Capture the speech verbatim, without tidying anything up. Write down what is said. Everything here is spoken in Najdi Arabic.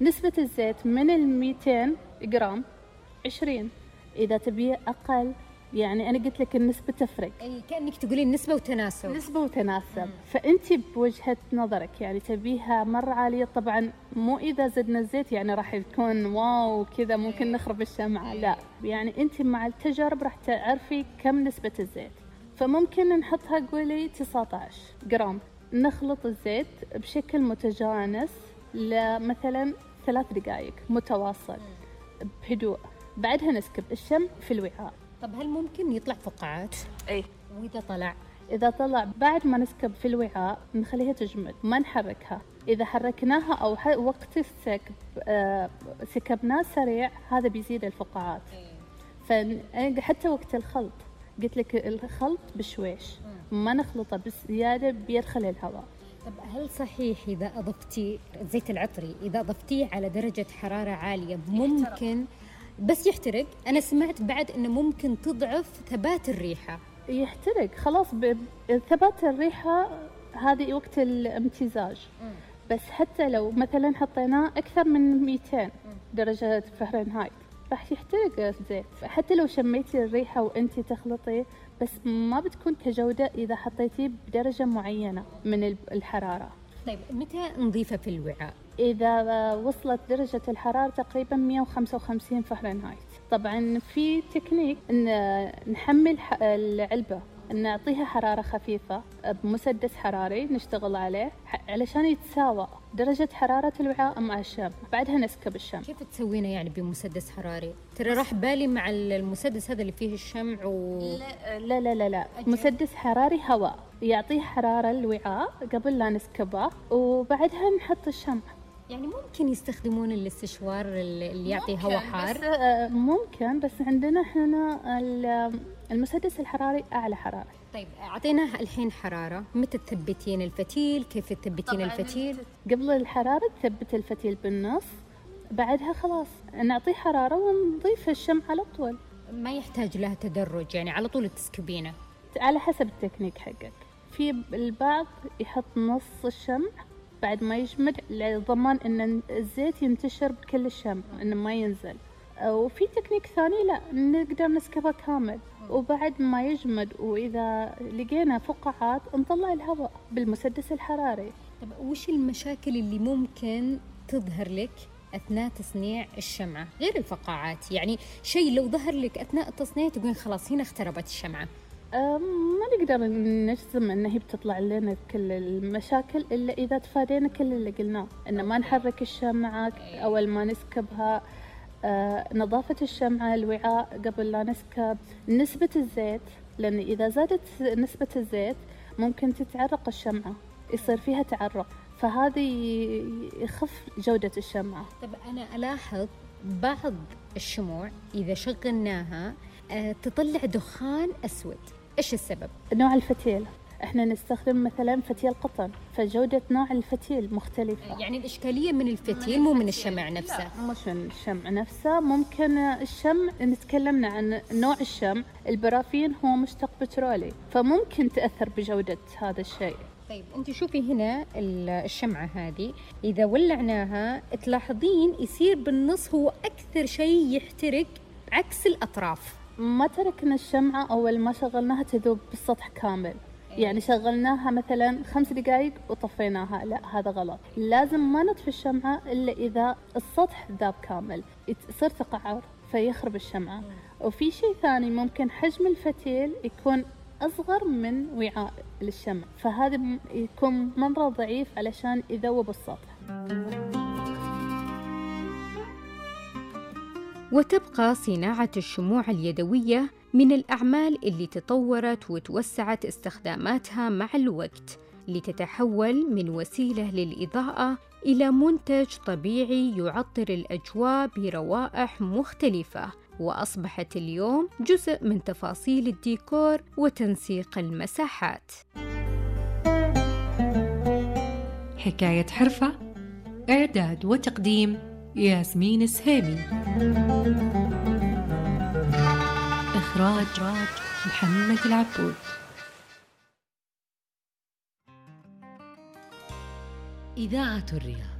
نسبة الزيت من الميتين جرام عشرين. إذا تبي أقل يعني أنا قلت لك النسبة تفرق. أي كأنك تقولين نسبة وتناسب. نسبة وتناسب. فأنت بوجهة نظرك يعني تبيها مرة عالية، طبعا مو إذا زدنا الزيت يعني راح يكون واو كذا ممكن نخرب الشمعة، لا يعني أنت مع التجارب راح تعرفي كم نسبة الزيت. فممكن نحطها قولي تسعة عشر جرام. نخلط الزيت بشكل متجانس لمثلا ثلاث دقائق متواصل بهدوء، بعدها نسكب الشمع في الوعاء. طب هل ممكن يطلع فقاعات؟ اي. وإذا طلع؟ إذا طلع بعد ما نسكب في الوعاء نخليها تجمد، ما نحركها. إذا حركناها أو وقت السكب آه سكبناه سريع هذا بيزيد الفقاعات. فحتى وقت الخلط قلت لك الخلط بشويش، ما نخلطه بزيادة بيدخل الهواء. طب هل صحيح إذا أضفتي زيت العطري إذا أضفتيه على درجة حرارة عالية ممكن بس يحترق؟ أنا سمعت بعد إنه ممكن تضعف ثبات الريحة. يحترق خلاص. ثبات الريحة هذه وقت الامتزاج. بس حتى لو مثلا حطيناه أكثر من مئتين درجة فahrenheit راح يحترق الزيت. حتى لو شميتي الريحة وأنتي تخلطيه بس ما بتكون كجودة إذا حطيتيه بدرجة معينة من الحرارة. طيب متى نضيفه في الوعاء؟ إذا وصلت درجة الحرارة تقريبا مئة وخمسة وخمسين فahrenheit. طبعا في تكنيك إن نحمل العلبة نعطيها حرارة خفيفة بمسدس حراري نشتغل عليه علشان يتساوى درجة حرارة الوعاء مع الشمع، بعدها نسكب الشمع. كيف تسوينا يعني بمسدس حراري؟ ترى راح بالي مع المسدس هذا اللي فيه الشمع و... لا لا لا لا, لا. مسدس حراري هواء يعطيه حرارة الوعاء قبل لا نسكبه وبعدها نحط الشمع. يعني ممكن يستخدمون الاستشوار اللي يعطي هواء حار؟ بس ممكن، بس عندنا احنا المسدس الحراري أعلى حرارة. طيب أعطيناه الحين حرارة، متى تثبتين الفتيل؟ كيف تثبتين الفتيل؟ قبل الحرارة تثبت الفتيل بالنص، بعدها خلاص نعطيه حرارة ونضيف الشمع على طول. ما يحتاج لها تدرج يعني على طول تسكبينه؟ على حسب التكنيك حقك. في البعض يحط نص الشمع بعد ما يجمد لضمان ان الزيت ينتشر بكل الشمع انه ما ينزل، وفي تكنيك ثاني لا نقدر نسكبه كامل وبعد ما يجمد، واذا لقينا فقاعات نطلع الهواء بالمسدس الحراري. طب وش المشاكل اللي ممكن تظهر لك اثناء تصنيع الشمعة غير الفقاعات؟ يعني شيء لو ظهر لك اثناء التصنيع تقولين خلاص هنا اختربت الشمعة. ما نقدر نجزم ان هي بتطلع لنا كل المشاكل الا اذا تفادينا كل اللي قلناه، ان ما نحرك الشمعة اول ما نسكبها، آه، نظافة الشمعة الوعاء قبل لا نسكب، نسبة الزيت، لان اذا زادت نسبة الزيت ممكن تتعرق الشمعة يصير فيها تعرق، فهذه يخف جودة الشمعة. طب انا الاحظ بعض الشموع اذا شغلناها آه، تطلع دخان اسود، ايش السبب؟ نوع الفتيل، احنا نستخدم مثلا فتيل قطن فجودة نوع الفتيل مختلفة. يعني الإشكالية من الفتيل مو من الشمع نفسه؟ لا مش من الشمع نفسه، ممكن الشمع نتكلمنا عن نوع الشمع، البرافين هو مشتق بترولي فممكن تأثر بجودة هذا الشيء. طيب انت شوفي هنا الشمعة هذه إذا ولعناها تلاحظين يصير بالنص هو أكثر شيء يحترق عكس الأطراف. ما تركنا الشمعة أول ما شغلناها تذوب بالسطح كامل، يعني شغلناها مثلا خمس دقائق وطفيناها، لا هذا غلط. لازم ما نطفي الشمعة إلا إذا السطح ذاب كامل، يصير تقعر فيخرب الشمعة. وفي شيء ثاني ممكن حجم الفتيل يكون أصغر من وعاء للشمع، فهذا يكون مرة ضعيف علشان يذوب السطح. وتبقى صناعة الشموع اليدوية من الأعمال اللي تطورت وتوسعت استخداماتها مع الوقت لتتحول من وسيلة للإضاءة إلى منتج طبيعي يعطر الأجواء بروائح مختلفة، وأصبحت اليوم جزء من تفاصيل الديكور وتنسيق المساحات. حكاية حرفة، إعداد وتقديم ياسمين السهيمي، إخراج محمد العبود. إذاعة الرياض.